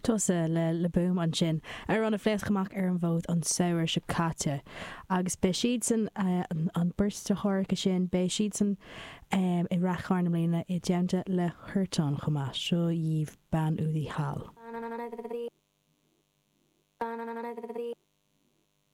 Tusa le Le Boom ansin, amhrán a phléasc amach ar an bhfód an samhradh seo caite. Agus beidh siadsan, an bheirt deartháireacha sin, beidh siadsan i Rath Chairn i mbliana i dteannta le Huartan chomh maith. Seo dhaoibh Bean Údaí Thall.